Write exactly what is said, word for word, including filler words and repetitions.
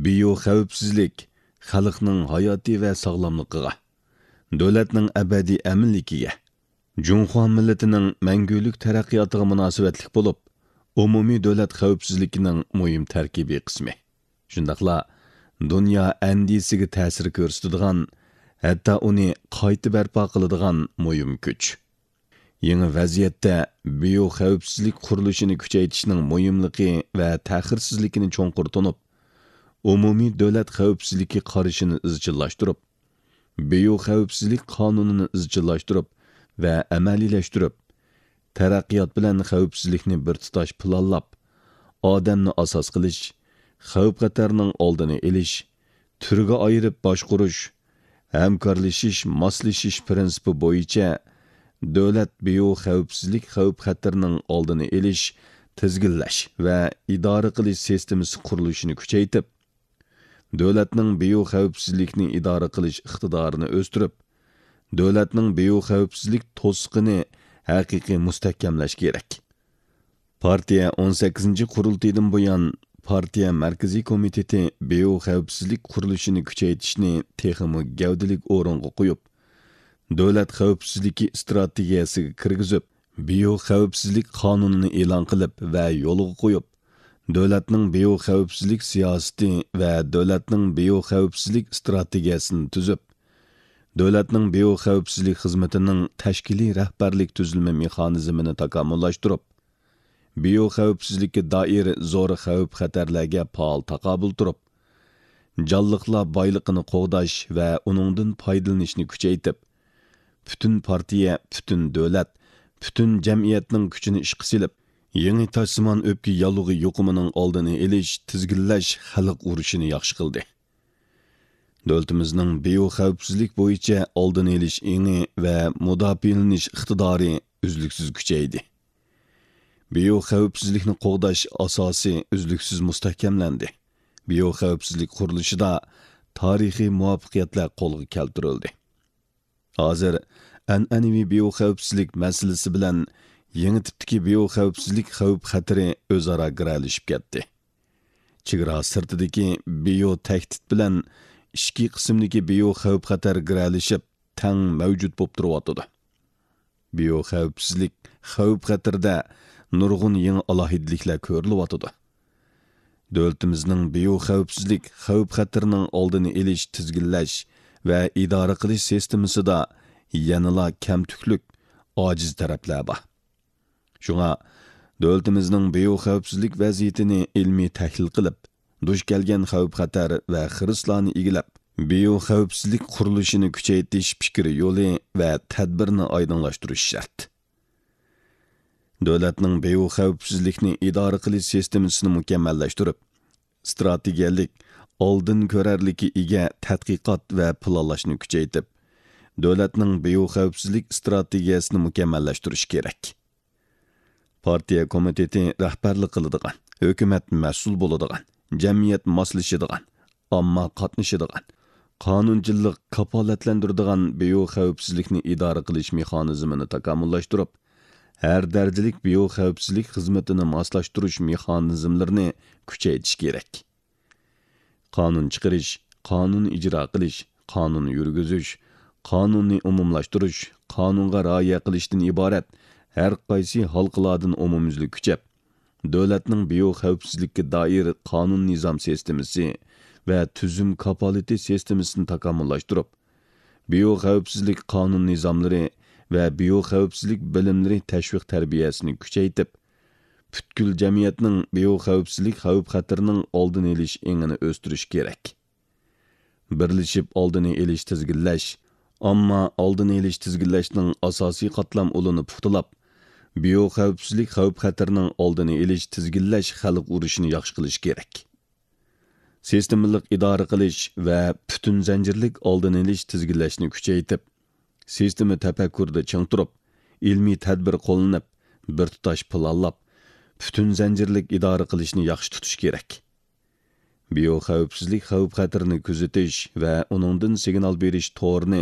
بىيو خەۋپسىزلىك خەلقنىڭ ھاياتى ۋە ساغلاملىقىغا، دۆلەتنىڭ ئەبەدىي ئەمىنلىكىگە، جۇڭخۇا مىللىتىنىڭ مەڭگۈلۈك تەرەققىياتىغا مۇناسىۋەتلىك بولۇپ، ئومۇمىي دۆلەت خەۋپسىزلىكىنىڭ مۇھىم تەركىبىي قىسمى. شۇنداقلا دۇنيا ئەندىزىسىگە تەسىر كۆرسىتىدىغان، ھەتتا ئۇنى قايتا بەرپا قىلىدىغان مۇھىم كۈچ. يېڭى ۋەزىيەتتە بىيو خەۋپسىزلىك قۇرۇلۇشىنى كۈچەيتىشنىڭ مۇھىملىقى ۋە تەخىرسىزلىكىنى چوڭقۇر تونۇپ، ئومۇمىي دۆلەت خەۋپسىزلىكى قارىشىنى ئىزچىللاشتۇرۇپ، بىيو خەۋپسىزلىك قانۇنىنى ئىزچىللاشتۇرۇپ ۋە ئەمەلىيلەشتۈرۈپ، تەرەققىيات بىلەن خەۋپسىزلىكنى بىر تۇتاش پىلانلاپ، ئادەمنى ئاساس قىلىش، خەۋپ-خەتەرنىڭ ئالدىنى ئېلىش، تۈرگە ئايرىپ باشقۇرۇش، ھەمكارلىشىش، ماسلىشىش پىرىنسىپى بويىچە دۆلەت بىيو خەۋپسىزلىك خەۋپ-خەتىرىنىڭ ئالدىنى ئېلىش، تىزگىنلەش ۋە ئىدارە قىلىش سىستېمىسى قۇرۇلۇشىنى كۈچەيتىپ، دۆلەتنىڭ بىيو خەۋپسىزلىكنى ئىدارە قىلىش ئىقتىدارىنى ئۆستۈرۈپ، دۆلەتنىڭ بىيو خەۋپسىزلىك توسۇقىنى ھەقىقىي مۇستەھكەملەش كېرەك. پارتىيە ئون سەككىزىنچى قۇرۇلتىيىدىن بۇيان، پارتىيە مەركىزىي كومىتېتى بىيو خەۋپسىزلىك قۇرۇلۇشىنى كۈچەيتىشنى تېخىمۇ گەۋدىلىك ئورۇنغا قويۇپ، دۆلەت خەۋپسىزلىكى ئىستراتېگىيەسىگە كىرگۈزۈپ، بىيو خەۋپسىزلىك قانۇنىنى ئېلان قىلىپ ۋە يولغا قويۇپ، دۆلەتنىڭ بىيو خەۋپسىزلىك سىياسىتى ۋە دۆلەتنىڭ بىيو خەۋپسىزلىك ئىستراتېگىيەسىنى تۈزۈپ، دۆلەتنىڭ بىيو خەۋپسىزلىك خىزمىتىنىڭ تەشكىلىي رەھبەرلىك تۈزۈلمە مېخانىزمىنى تاكامۇللاشتۇرۇپ، بىيو خەۋپسىزلىككە دائىر زور خەۋپ-خەتەرلەرگە پائال تاقابىل تۇرۇپ، جانلىقلار بايلىقىنى قوغداش ۋە ئۇنىڭدىن پايدىلىنىشنى كۈچەيتىپ، پۈتۈن پارتىيە، پۈتۈن دۆلەت، پۈتۈن جەمئىيەتنىڭ كۈچىنى ئىشقا سېلىپ، يېڭى تاشسىمان ئۆپكە ياللۇغى يۇقۇمىنىڭ ئالدىنى ئېلىش، تىزگىنلەش، خەلق ئۇرۇشىنى ياخشى قىلدى. دۆلىتىمىزنىڭ بىيو خەۋپسىزلىك بويىچە ئالدىنى ئېلىش ئېڭى ۋە مۇداپىئەلىنىش ئىقتىدارى ئۈزلۈكسىز كۈچەيدى. بىيو خەۋپسىزلىكنى قوغداش ئاساسى ئۈزلۈكسىز مۇستەھكەملەندى. بىيو خەۋپسىزلىك قۇرۇلۇشىدا تارىخىي مۇۋەپپەقىيەتلەر قولغا كەلتۈرۈلدى. ھازىر ئەنئەنىۋى بىيو خەۋپسىزلىك مەسىلىسى بىلەن يېڭى تىپتىكى بىيو خەۋپسىزلىك خەۋپ-خەتىرى ئۆزئارا گىرەلىشىپ كەتتى. چېگرا سىرتىدىكى بىيو تەھدىت بىلەن ئىچكى قىسىمدىكى بىيو خەۋپ-خەتەر گىرەلىشىپ، تەڭ مەۋجۇت بولۇپ تۇرۇۋاتىدۇ. بىيو خەۋپسىزلىك خەۋپ-خەتىرىدە نۇرغۇن يېڭى ئالاھىدىلىكلەر كۆرۈلۈۋاتىدۇ. دۆلىتىمىزنىڭ بىيو خەۋپسىزلىك خەۋپ-خەتىرىنىڭ ئالدىنى ئېلىش، تىزگىنلەش ۋە ئىدارە قىلىش سىستېمىسىدا يەنىلا كەمتۈكلۈك، ئاجىز تەرەپلەر بار. شۇڭا، دۆلىتىمىزنىڭ بىيو خەۋپسىزلىك ۋەزىيىتىنى ئىلمىي تەھلىل قىلىپ، دۇچ كەلگەن خەۋپ-خەتەر ۋە خىرىسلارنى ئىگىلەپ، بىيو خەۋپسىزلىك قۇرۇلۇشىنى كۈچەيتىش پىكىر يولى ۋە تەدبىرىنى ئايدىڭلاشتۇرۇش شەرت. دۆلەتنىڭ بىيو خەۋپسىزلىكنى ئىدارە قىلىش سىستېمىسىنى مۇكەممەللەشتۈرۈپ، ئىستراتېگىيەلىك، ئالدىن كۆرەرلىككە ئىگە تەتقىقات ۋە پىلانلاشنى كۈچەيتىپ، دۆلەتنىڭ بىيو خەۋپسىزلىك ئىستراتېگىيەسىنى مۇكەممەللەشتۈرۈش كېرەك. پارتىيە كومىتېتى رەھبەرلىك قىلىدىغان، ھۆكۈمەت مەسئۇل بولىدىغان، جەمئىيەت ماسلىشىدىغان، ئامما قاتنىشىدىغان، قانۇنچىللىق كاپالەتلەندۈرىدىغان بىيو خەۋپسىزلىكنى ئىدارە قىلىش مېخانىزمىنى تاكامۇللاشتۇرۇپ، ھەر دەرىجىلىك بىيو خەۋپسىزلىك خىزمىتىنى ماسلاشتۇرۇش مېخانىزملىرىنى كۈچەيتىش كېرەك. قانۇن چىقىرىش، قانۇن ئىجرا قىلىش، قانۇن يۈرگۈزۈش، قانۇننى ئومۇملاشتۇرۇش، قانۇنغا رىئايە قىلىشتىن ئىبارەت ھەر قايسى ھالقىلاردىن ئومۇميۈزلۈك كۈچەپ، دۆلەتنىڭ بىيو خەۋپسىزلىككە دائىر قانۇن نىزام سىستېمىسى ۋە تۈزۈم كاپالىتى سىستېمىسىنى تاكامۇللاشتۇرۇپ، بىيو خەۋپسىزلىك قانۇن نىزاملىرى ۋە بىيو خەۋپسىزلىك بىلىملىرى تەشۋىق تەربىيەسىنى كۈچەيتىپ، پۈتكۈل جەمئىيەتنىڭ بىيو خەۋپسىزلىك خەۋپ خەتىرىنىڭ ئالدىنى ئېلىش ئېڭىنى ئۆستۈرۈش كېرەك. بىرلىشىپ ئالدىنى ئېلىش تىزگىنلەش، ئامما ئالدىنى ئېلىش تىزگىنلەشنىڭ ئاساسىي قاتلام ئۇلىنى پۇختىلاپ، بىيو خەۋپسىزلىك خەۋپ خەتىرىنىڭ ئالدىنى ئېلىش تىزگىنلەش خەلق ئۇرۇشىنى ياخشى قىلىش كېرەك. سىستېمىلىق ئىدارە قىلىش ۋە پۈتۈن زەنجىرلىك ئالدىنى ئېلىش تىزگىنلەشنى كۈچەيتىپ، سىستېما تەپەككۇرىدا چىڭ تۇرۇپ، ئىلمىي تەدبىر قوللىنىپ، بىر تۇتاش پىلانلاپ، پۈتۈن زەنجىرلىك ئىدارە قىلىشنى ياخشى تۇتۇش كېرەك. بىيو خەۋپسىزلىك خەۋپ خەتىرىنى كۆزىتىش ۋە ئۇنىڭدىن سىگنال بېرىش تورىنى